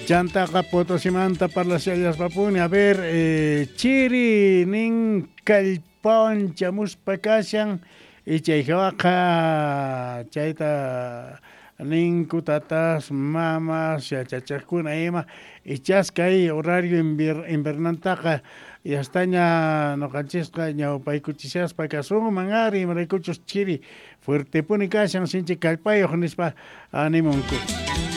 Chantaqa Potosimanta parlashallaspapuni, a ver, chiri nin kallpawan chamuspa kashan, y chay jawaqa chayta ninku tatas, mamas, yachachejkuna ima, ichas kay horario invernantaqa yastaña noqanchisqa ñawpaykuchishaspa kasunman ari, imaraykuchus chiri fuertepuni kashan, sinchi kallpayoj nispa animunku.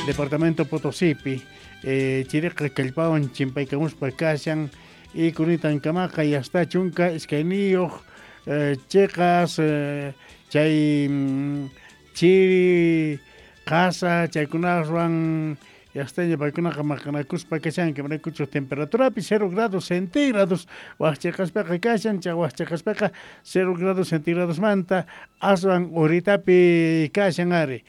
Departamento Potosipi chiriqa kallpawan chimpaykamuspa kashan, y kunitankamaqa yasta 12 cheqas chay chiri qasa chaykunaswan yastaña paykunaqa maqanakuspa kashanku, imaraykuchus temperaturapi 0 grados centígrados waj cheqaspaqa kashan, chay waj cheqaspaqa 0 grados centígradosmanta aswan uritapi kashan ari.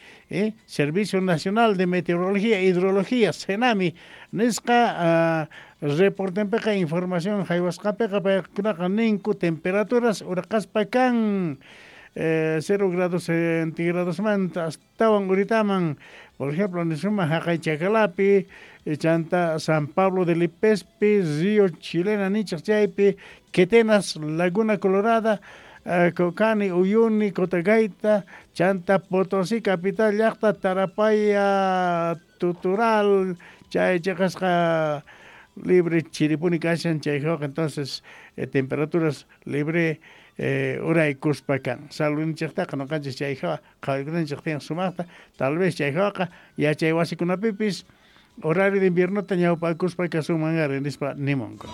Servicio Nacional de Meteorología e Hidrología, SENAMHI, nisqa reportenpeqa información jaywasqapeqa paykunaqa ninku temperaturas uraqaspa kan 0 grados centígradosmanta astawan uritaman, por ejemplo, nisuma jaqay Chacalapi, chanta San Pablo de Lipespi, Río Chilena nichaj chaypi, Quetenas, Laguna Colorada, Cocani, Uyuni, Cotagaita, chanta Potosí, capital llajta, Tarapaya, Tutural, chay cheqasqa libre chiripuni kashan chay jawqa, entonces temperaturas libre uraykuspa kan. Saludninchejtaqa noqanchis chay jawa qhawariykunanchej tiyan sumajta, tal vez chay jawaqa yachay wasikunapipis horario de inviernota ñawpakuspa kasunman ari nispa nimunku.